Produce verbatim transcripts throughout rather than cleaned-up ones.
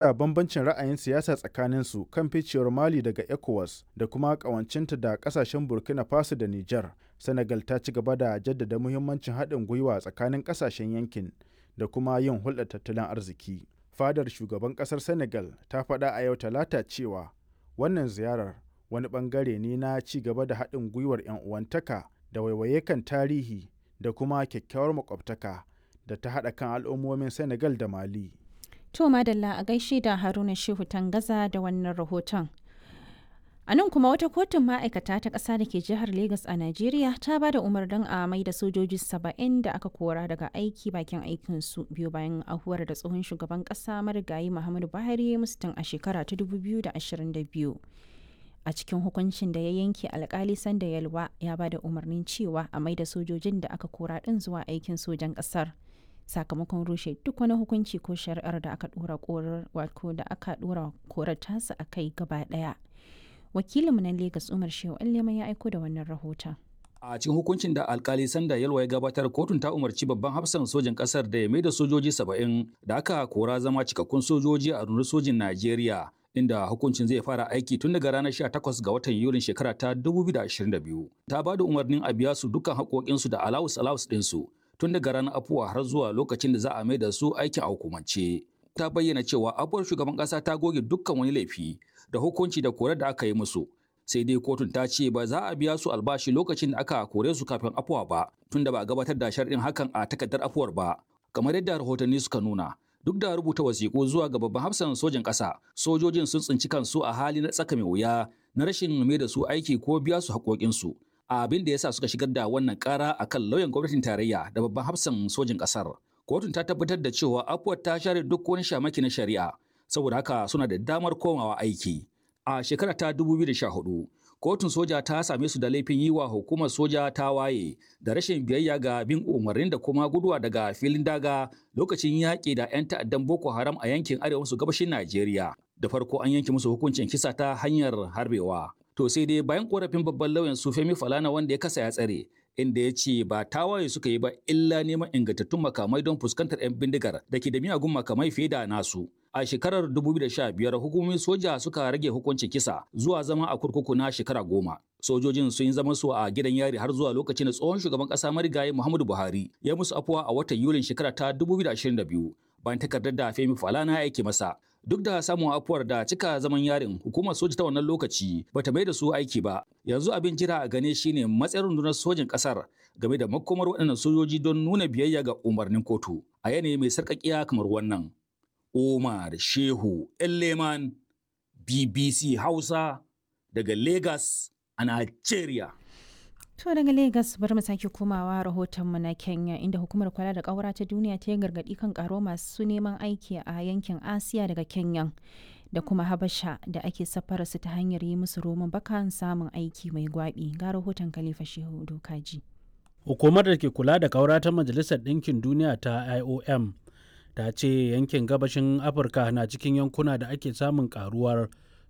da bambancin ra'ayin siyasa tsakaninsu kan ficewar Mali daga ECOWAS da kuma ƙawancinta da ƙasashen Burkina Faso da Nijar, Senegal ta ci gaba da jaddada muhimmancin haɗin gwiwa tsakanin ƙasashen yankin da kuma yin hulɗar tattalin arziki. Fadar shugaban ƙasar Senegal ta faɗa a yau Talata cewa wannan ziyarar wani ɓangare ne na ci gaba da haɗin gwiwar 'yan uwantaka da waiwaye kan tarihi da kuma kyakkyawar makwabtaka da ta haɗa kan al'ummomin Senegal da Mali. To madalla a gaishe da Haruna Shehu Tangaza da wannan rahoton. A nan kuma wata kotun ma'aikata ta ƙasa da ke jihar Legas a Najeriya ta ba da umarnin a mai da sojoji saba'in da aka kora daga aiki bakin aikinsu biyu bayan ahuwar da tsohon shugaban ƙasa marigayi Muhammadu Buhari musu tun a shekara ta dubu biyu da ashirin da biyu. A cikin hukuncin da ya yanke, alkali Sanda Yalwa ya ba da umarnin cewa a mai da sojojin da aka kora ɗin zuwa aikin sojan ƙasar, sakamakon rushe duk wani hukunci ko shari'ar da aka dora korar wato da aka dora korar tasa a kai gaba daya. Wakilinmu na Lagos, Umar Shehu Allema, ya aiko da wannan rahoton. A cikin hukuncin da alkali Sanda Yalwa ya gabatar, kotun ta umarci babban hafsan sojin kasar da ya mai da sojoji saba'in da aka kora zama cikakkun sojoji a rundunar sojin Najeriya, inda hukuncin zai fara aiki tun daga ranar sha takwas ga watan Yulin shekara ta dubu biyu da ashirin da biyu. Ta ba da umarnin a biya su dukkan haƙoƙinsu da alawus alawus ɗinsu tun daga ranar afuwa har zuwa lokacin da za a mai da su aikin a hukumance. Ta bayyana cewa afuwar shugaban ƙasa ta goge dukkan wani laifi da hukunci da korar da aka yi musu. Sai dai kotun ta ce ba za a biya su albashi lokacin da aka kore su kafin afuwa ba, tunda ba a gabatar da sharɗin hakan a takardar afuwar ba. Kamar yadda rahotanni suka nuna, duk da rubuta wasiƙu zuwa ga babban hafsan sojin ƙasa, sojojin sun tsinci kansu a hali na tsaka mai wuya na rashin mai da su aiki ko biya su haƙoƙinsu, abin da yasa suka shigar da wannan ƙara akan lauyan gwamnatin tarayya da babban hafsan sojin ƙasar. Kotun ta tabbatar da cewa afuwar ta share duk wani shamaki na shari'a, saboda haka suna da damar komawa aiki. A shekara ta dubu biyu da sha hudu, kotun soja ta same su da laifin yi wa hukumar soja ta waye da rashin biyayya ga bin umarnin da kuma guduwa daga filin daga lokacin yaƙi da 'yan ta'addan Boko Haram a yankin arewa maso gabashin Najeriya. Da farko an yanke musu hukuncin kisa ta hanyar harbewa. To sai dai bayan korafin babban lauyan su Femi Falana, wanda ya kasa ya tsare, inda ya ce ba tawaye suka yi ba illa neman ingantattun makamai don fuskantar 'yan bindigar da ke da miyagun makamai fiye da nasu. A shekarar dubu biyu da sha biyar hukumomin soja suka rage hukuncin kisa zuwa zama a kurkuku na shekara goma. Sojojin sun yi zaman su a gidan yari har zuwa lokacin da tsohon shugaban kasa marigayi Muhammadu Buhari ya musu afuwa a watan Yulin shekara ta dubu biyu da ashirin da biyu, bayan takardar da Femi Falana ya aike masa. Duk da samun afuwar da cika zaman yarin, hukumar soja ta wannan lokaci bata mai da su aiki ba. Yanzu abin jira a gane shine matsayin rundunar sojin kasar game da makomar waɗannan sojoji don nuna biyayya ga umarnin kotu a yanayi mai sarƙaƙiya kamar wannan. Umar Shehu Elleman, B B C Hausa, daga Lagos a Nigeria. To daga Lagos bari mu sake komawa rahotonmu na Kenya, inda hukumar kula da ƙaura ta duniya ta yi gargaɗi kan ƙaro masu neman aiki a yankin Asiya daga Kenya da kuma Habasha da ake safara su ta hanyar yi musu roman bakan samun aiki mai gwabi. Ga rahoton Khalifa Shehu Dokaji. Hukumar da ke kula da ƙaura ta Majalisar Ɗinkin Duniya ta I O M ta ce yankin gabashin Afirka na cikin yankuna da ake samun karuwar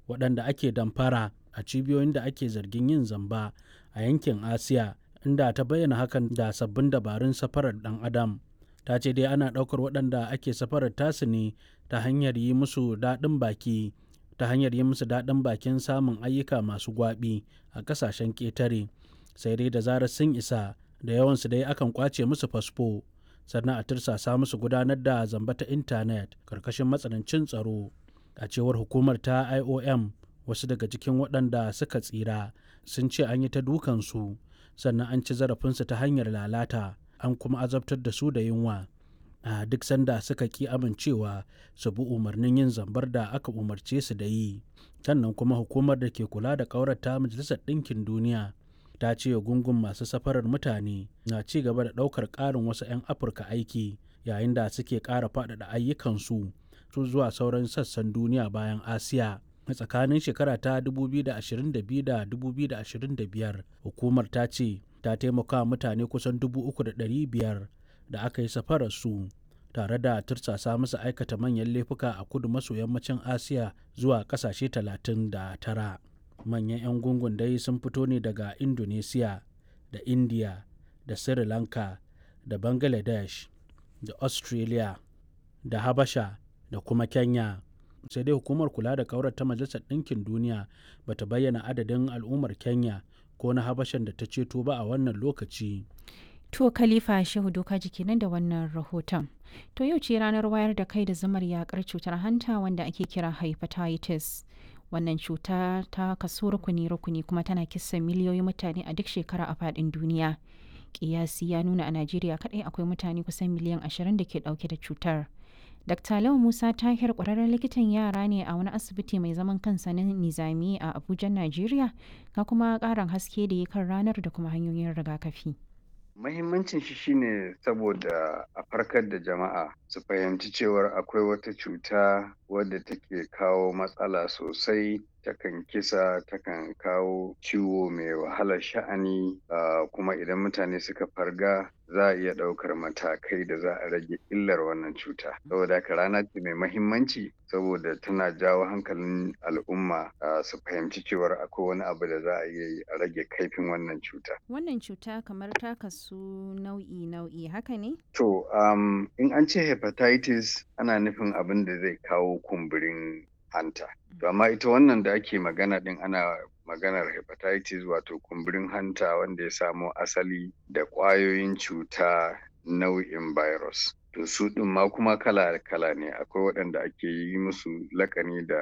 waɗanda ake damfara a cibiyoyin da ake zargin yin zamba a yankin Asiya, inda ta bayyana hakan da sabbin dabarun safarar ɗan adam. Ta ce dai ana ɗaukar waɗanda ake safarar tasu ne ta hanyar yi musu daɗin baki ta hanyar yi musu daɗin bakin samun ayyuka masu gwaɓi a ƙasashen ƙetare. Sai dai da zarar sun isa, da yawansu dai akan ƙwace musu fasfo, sannan a tursasa musu gudanar da zamba ta intanet karkashin matsanancin tsaro. A cewar hukumar ta I O M, wasu daga cikin waɗanda suka tsira sun ce an yi ta dukansu, sannan an ci zarafinsu ta hanyar lalata, an kuma azabtar da su da yunwa a duk sanda suka ki amincewa su bi umarnin yin zambar da aka umarce su da yi. Sannan kuma hukumar da ke kula da ƙaurata Majalisar Ɗinkin Duniya ta ce gungun masu safarar mutane na ci gaba da ɗaukar ƙarin wasu 'yan Afirka aiki yayin da suke ƙara faɗaɗa ayyukansu su zuwa sauran sassan duniya bayan Asiya. A tsakanin shekara ta dubu biyu da ashirin da biyu da dubu biyu da ashirin da biyar, hukumar ta ce ta taimaka mutane kusan dubu uku da ɗari biyar da aka yi safarar su tare da tursasa musu aikata manyan laifuka a kudu maso yammacin Asiya zuwa ƙasashe talatin da tara. Manyan 'yan gungun dai sun fito ne daga Indonesia da India da Sri Lanka da Bangladesh da Australia da Habasha da kuma Kenya. Sai dai hukumar kula da kaurar ta Majalisar Ɗinkin Duniya bata bayyana adadin al'ummar Kenya ko na Habashan da ta ceto ba a wannan lokaci. To Khalifa Shehu Doka kenan da wannan rahoton. To yau ce ranar wayar da kai da zamar yakar cutar hanta wanda ake kira hepatitis. Wannan cuta ta kaso rukuni-rukuni kuma tana kisa miliyoyin mutane a duk shekara a faɗin duniya. Kiyasi ya nuna a Najeriya kaɗai akwai mutane kusan miliyan ashirin da ke ɗauke da cutar. Dakta Lau Musa Tahir ƙwararren likitan yara ne a wani asibiti mai zaman kansa na Nizami a Abuja, Najeriya, ga kuma ƙarin haske da ya kan ranar da kuma hanyoyin rigakafi. Mahimmancin shi shine saboda a farkar da jama'a su fahimci cewar akwai wata cuta wadda take kawo matsala sosai, takan kisa, takan kawo ciwo mai wahalar sha'ani, uh, kuma idan mutane suka farga za a iya ɗaukar matakai da za a rage illar wannan cuta. Saboda haka rana ce mai mahimmanci saboda tana jawo hankalin al'umma uh, su fahimci cewar akwai wani abu da za a iya yi a rage kaifin wannan cuta. Wannan cuta kamar ta kasu nau'i-nau'i haka ne? To, um, in an ce hepatitis ana nufin abin da zai kawo kumburin hanta. To amma ita wannan da ake magana din ana maganar hepatitis wato kumburin hanta wanda ya samo asali da ƙwayoyin cuta nau'in virus. To su ɗin ma kuma kala-kala ne, akwai waɗanda ake yi musu lakani da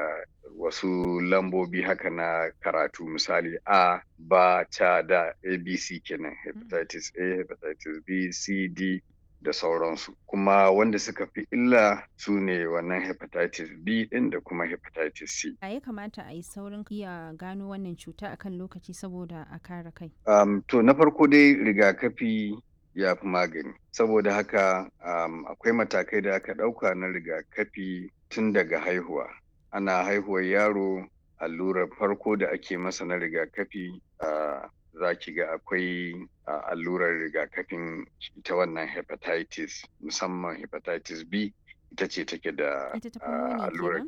wasu lambobi haka na karatu, misali A, B, C, D, A, B, C kenan, hepatitis A, hepatitis B, C, D da sauransu. Kuma wanda suka fi illa su ne wannan hepatitis B ɗin da kuma hepatitis C. A ya kamata a yi saurin iya gano wannan cuta akan lokaci saboda a kare kai. Um, to na farko dai rigakafi ya fi magani. Saboda haka um, akwai matakai da aka ɗauka na rigakafi tun daga haihuwa. Ana haihuwar yaro, allurar farko da ake masa na rigakafi uh, za ki ga akwai uh, allurar rigakafin ita wannan hepatitis, musamman hepatitis B ita ce take da uh, allurar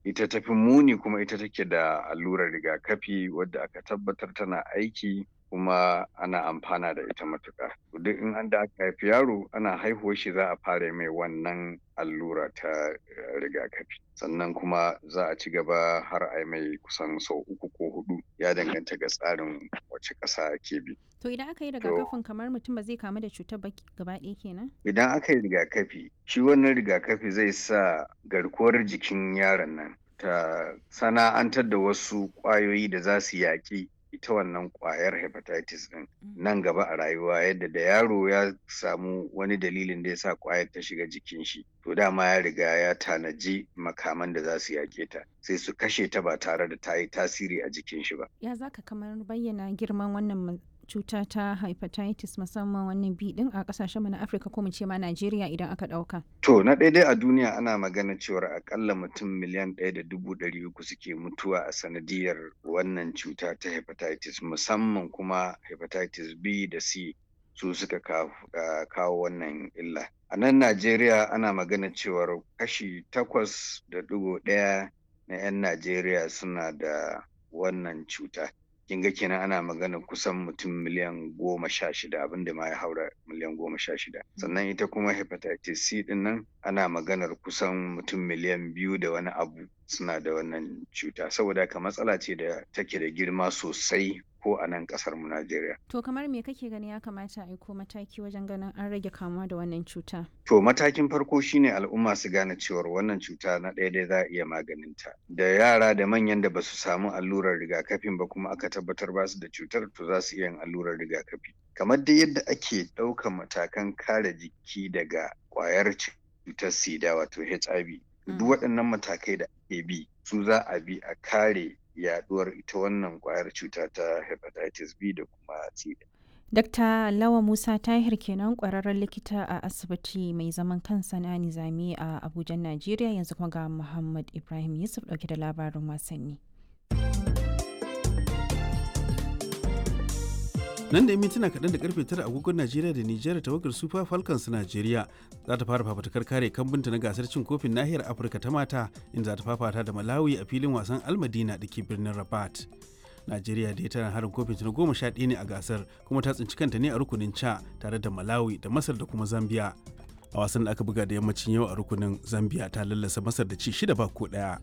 ita tafi muni, kuma ita take da allurar rigakafi wadda aka tabbatar tana aiki kuma ana amfana da ita matuƙa. Duk in an da aka haifi yaro, ana haihuwar shi za a fara mai wannan allura ta rigakafi. Sannan kuma za a ci gaba har a mai kusan sau uku ko hudu, ya danganta ga tsarin wace ƙasa ake bi. To idan aka yi rigakafin kamar mutum ba zai kamu da cutar ba gaba ɗaya kenan? Idan aka yi rigakafi, shi wannan rigakafi zai sa garkuwar jikin yaron nan ta sana'antar da wasu ƙwayoyi da za su yaƙi ita wannan kwayar hepatitis din nan gaba a rayuwa, yadda da yaro ya samu wani dalilin da ya sa kwayar ta shiga jikin shi, to dama ya riga ya tanaji makaman da za su yake ta, sai su kashe ta ba tare da ta yi tasiri a jikin shi ba. Ya zaka kamar bayyana girman wannan cuta ta hepatitis, musamman wannan B din, a kasashen mu na Afirka ko mu ce ma Najeriya idan aka dauka? To na ɗaya dai a duniya ana magana cewar akalla mutum miliyan ɗaya da dubu ɗari uku suke mutuwa a sanadiyar wannan cuta ta hepatitis, musamman kuma hepatitis B da C su suka kawo wannan illa. A nan Najeriya ana magana cewar kashi takwas da ɗigo ɗaya na 'yan Najeriya suna da wannan cuta. Kin ga kenan ana magana kusan mutum miliyan goma sha shida, abinda ma ya haura miliyan goma sha shida. Sannan ita kuma hepatitis C din nan ana maganar kusan mutum miliyan biyu da wani abu suna da wannan cuta. Saboda haka matsala ce da take da girma sosai ko a nan kasar mu Najeriya. To kamar me kake gani ya kamata a yi ko mataki wajen ganin an rage kamuwa da wannan cuta? To matakin farko shine al'umma su gane cewar wannan cuta na ɗaya dai za a iya maganinta. Da yara da manyan da basu samu allurar rigakafin ba kuma aka tabbatar ba su da cutar, to za su iya yin allurar rigakafi. Kamar dai yadda ake ɗaukan matakan kare jiki daga ƙwayar cutar sida wato H I V. Duk waɗannan matakai da ake bi su za a bi a kare yaduwar ita wannan kwayar cuta ta hepatitis B da kuma C. Dakta Lawa Musa Tahir kenan, kwararren likita a asibiti mai zaman kansa na Nizami a Abuja, Najeriya. Yanzu kuma ga Muhammad Ibrahim Yusuf dauke da labarin wasanni. Nan da mintuna kaɗan da karfe tara agogon Najeriya da Nijar, tawagar Super Falcons Najeriya za ta fara fafatukar kare kambunta na gasar cin kofin nahiyar Afirka ta mata, inda za ta fafata da Malawi a filin wasan Almadina da ke birnin Rabat. Najeriya dai tana harin kofin na goma sha ɗaya ne a gasar, kuma ta tsinci kanta ne a rukunin ca tare da Malawi da Masar da kuma Zambia. A wasan da aka buga da yammacin yau a rukunin, Zambia ta lallasa Masar da ci shida ba ko ɗaya.